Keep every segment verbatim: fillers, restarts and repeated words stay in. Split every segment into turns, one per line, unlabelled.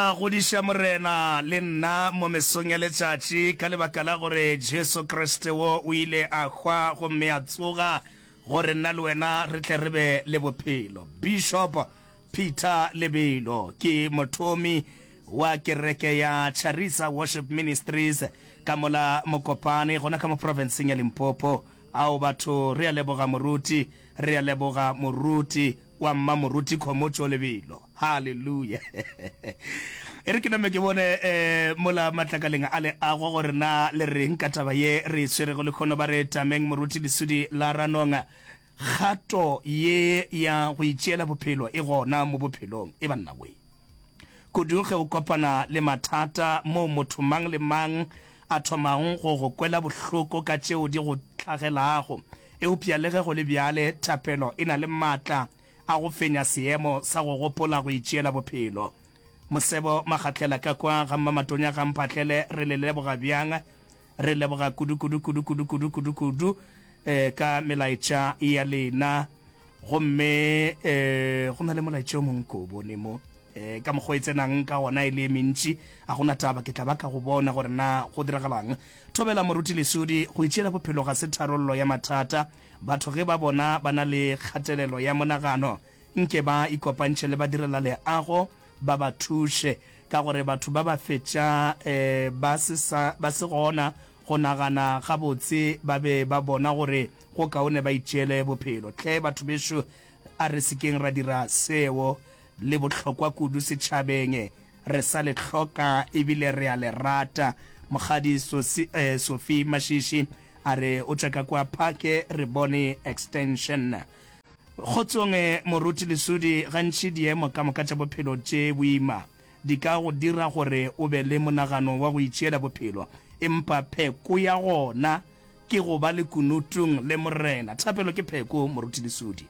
tla godiša Morena le nna mo mesong ya letšatši, ka lebaka la gore Jesu Kriste wo o ile a hwa gomme a tsoga gore nna le wena re tle re be le bophelo. Bishop Peter Lebelo ke mothomi wa kereke ya Charisa Worship Ministries ka mola Mokopane gona ka mo profenseng ya Limpopo. Ao batho, re a leboga moruti, re a leboga moruti wa mma moruti Khomotšo Lebelo. Haleluya. E re ke name ke bone eh, mola matlakaleng a leago gore na le reng ka taba ye re e tshwerego lekhono. Ba re tameng moruti Lesudi la Ranong, kgato ye ya go itšeela bophelo e gona mo bophelong. E banna we. Kudu ge o kopana le mathata moo motho mang le mang a thomago go go kwela bohloko ka tšeo di go hlagelago. Eupša le ge go le bjale, thapelo e na le matla a go fenya seemo sa go gopola go itšeela bophelo. Mosebo Magatlela ka kwa ga Mmamatonya ga Mphahlele, re le leboga bjang? Re leboga kudu kudu kudu kudu kudu kudu kudu eh, ka melaetša ya lena. Gomme eh, go na le molaetša o mongwe ko o bone mo eh, ka mokgwa e tsenang ka gona e le e mentši, a gona taba, ke tla ba ka go bona gore na go diragalang. Thobela moruti Lesudi, go itšeela bophelo ga se tharollo ya mathata. Batho ge ba bona ba na le kgatelelo ya monagano, nke ba ikopantšhe le badirelaleago ba ba thuše, ka gore batho ba ba fetša eh, ba se sa ba se gona go nagana gabotse, ba be ba bona gore go kaone ba itšeele bophelo. Hle batho bešo, a re se keng ra dira seo. Le bohlokwa kudu setšhabeng, re sa le hloka ebile re a le rata. Mokgadi Sosi, eh, Sophie Mashishi a re o tšwa ka kwa Phake re bone extension. Kgotsong Moruti Lesudi, gantši diemo ka moka tša bophelo tše boima di ka go dira gore o be le monagano wa go itšeela bophelo, empa pheko ya gona ke go ba lekunutung le Morena. Thapelo ke pheko, Moruti Lesudi.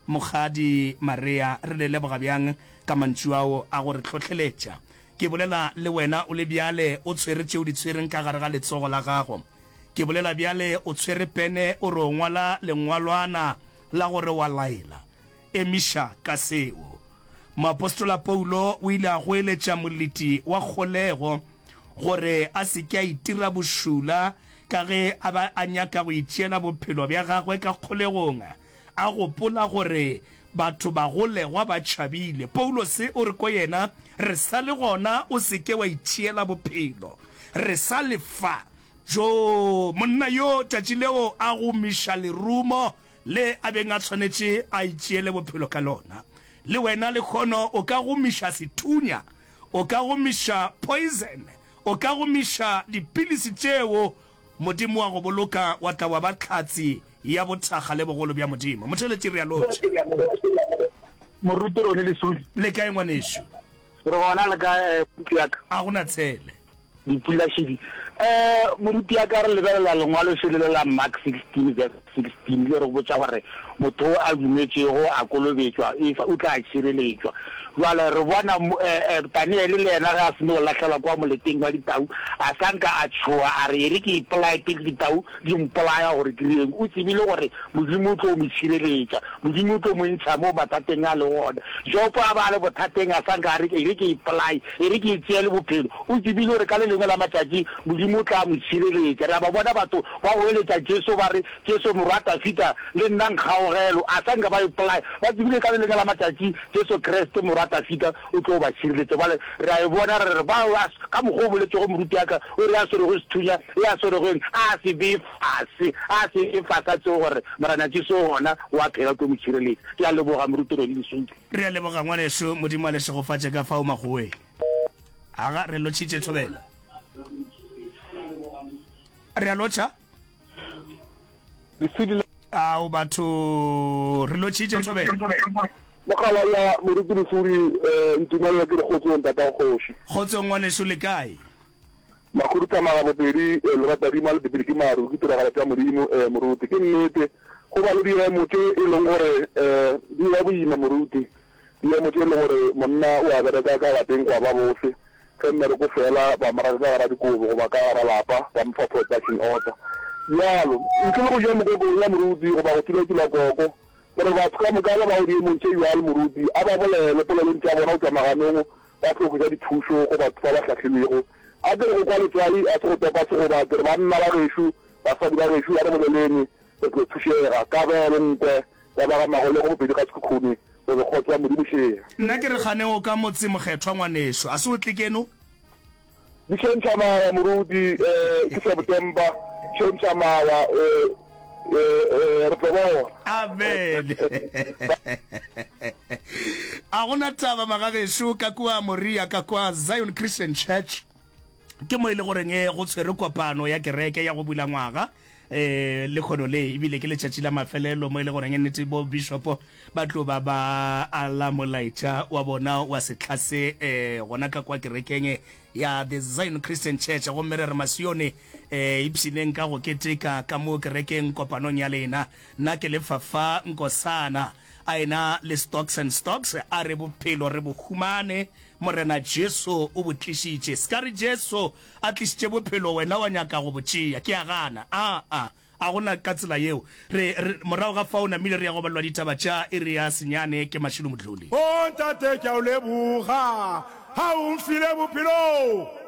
Mokgadi Maria, re le leboga bjang ka mantšu ao a go re hlohleletša. Ke bolela le wena o le bjale o tshwere tše o di tshwereng ka gare ga letsogo la gago. Ke bolela bjale o tshwere pene o re o ngwala lengwalwana la gore wa laela. Emiša ka seo. Moapostola Paulo o ile a goeletša moleti wa kgolego gore a se ke a itira bošula ka ge a ba a nyaka go itšeela bophelo bja gagwe ka kgolegong, a gopola gore batho bagolegwa ba tšhabile. Paulose o re ko yena, Re sa le gona, o se ke wa itšeela bophelo. Re sa le fa. Joo, monna yo tšatši leo a gomiša lerumo le a beng a tshwanetše a itšeele bophelo ka lona. Le wena lehono o ka gomiša sethunya, o ka gomiša poison, o ka gomiša dipilisi tšeo Modimo wa go boloka wa tla wa ba hlatse ya bothakga le bogolo bja Modimo. Motheeletši, re a lotšha.
Moruti Rony Lesodi.
Le kae ngwanešu?
Re gona, le kae moruti ya ka?
A go na tshele.
Dipula šedi. Eh, moruti ya ka, re lebelela lengwalo šele le la Mark sixteen verse sixteen, le re botša gore motho o a dumetšego a kolobetšwa, efa o tla tšhireletšwa. Bjale re bona eh, eh, Daniele le yena ge a seno go lahlelwa kwa moleteng wa ditau, a sa nka a tšhoga a re, E re ke ipolaye pele ditau di mpolaya gore ke direng. O tsebile gore Modimo o tlo mo tšhireletša, Modimo o tlo mo ntšha mo mathateng a lego gona. Jobo a ba a le bothateng, a sa nka a re, E re ke ipolaye, e re ke itšeele bophelo. O tsebile gore ka le lengwe la matšatši Modimo o tla mo tšhireletša. Re a ba bona batho ba goeletša Jesu ba re, Jesu Morwa Dafida, le nna nkgaogelo. A sa nka ba ipolaya. Ba tsebile ka le lengwe la matšatši Jesu Kriste Morwa Dafida o tlo ba tšhireletša. Bjale re a e bona, re re, ba, ba, ka mokgwa o boletšego moruti wa ka, o re, a swerego sethunya, e a swerego eng, a se bee fase, a se bee fase, a tsebe gore Morena Jesu o gona, o a phela, o tlo mo tšhireletša. Ke a leboga, Moruti Rony Lesodi.
Re a leboga, ngwanešu. Modimo a le šegofatše ka fao makgoweng. Aga, re lotšhitše thobela. Re a lotšha.
Lesedi la.
Ao batho, re lotšhitše thobela.
Mogala ya Moruti Lesodi, eh, ntumelele ke re kgotsong tatago kgoši.
Kgotsong ngwanešu, le kae?
Makhuduthamaga bobedi, eh, Leratadima le Bibele ke maru, ke tiragalo tša Modimo, eh, Moruti. Ke nnete, go ba le diemo tše e leng gore, eh, di ba boima, Moruti. Diemo tše e leng gore monna o a bereka ka lapeng gwa ba bose, ge mmereko o fela ba mo raka ka gara dikobo goba ka gara lapa ba mo fa production order. Bjalo, ntle le go ja mokoko ya moruti goba go tulatula koko, gore batho ka moka ba bago diemong tše bjalo moruti a ba bolele polelong tša bona go tšwa maganong ba tlo hwetša dithušo go batho ba ba hlahlilwego. A ke re go kwa letswai a se go topa segoba, ke re banna ba gešo, basadi ba gešo a re boleleng re tlo thušega. Kabelo Nkwe ya ba ga Magolego Bopedi ga Sekhukhune, re re kgotso ya Modimo šea.
Nna ke re gane o ka motse mokgethwa ngwanešo, a se o tle keno?
Di tšhentšha mawa moruti, eh, ke September, tšhentšha mawa, eh, eh, eh, re tlo bona.
Amen. A gona taba magagešo ka kua Moria ka kwa Zion Christian Church ke mo e le goreng eh, go tshwere kopano ya kereke ya go bula ngwaga eh lekgono le ebile ke letšatši la mafelelo mo e le goreng nnete bo bishopo ba tlo ba ba ala molaetša wa bona wa sehla se eh gona ka kwa kerekeng ya The Zion Christian Church gomme re re Masione eh ipshineng ka go keteka ka mo kerekeng kopanong ya lena nna ke lefa fa Nkosana a ena le Stocks and Stocks a re bophelo re bo humane Morena Jesu o bo tlišitše ska re Jesu a tlišitše bophelo wena wa nyaka go bo tšea ke a gana aa a gona ka tsela yeo re re morago ga fao namile re ya go balelwa ditaba tša iri ya senyane ke Mashilo Modluli.
O Ntate, ke a o leboga, ha o mfile bophelo.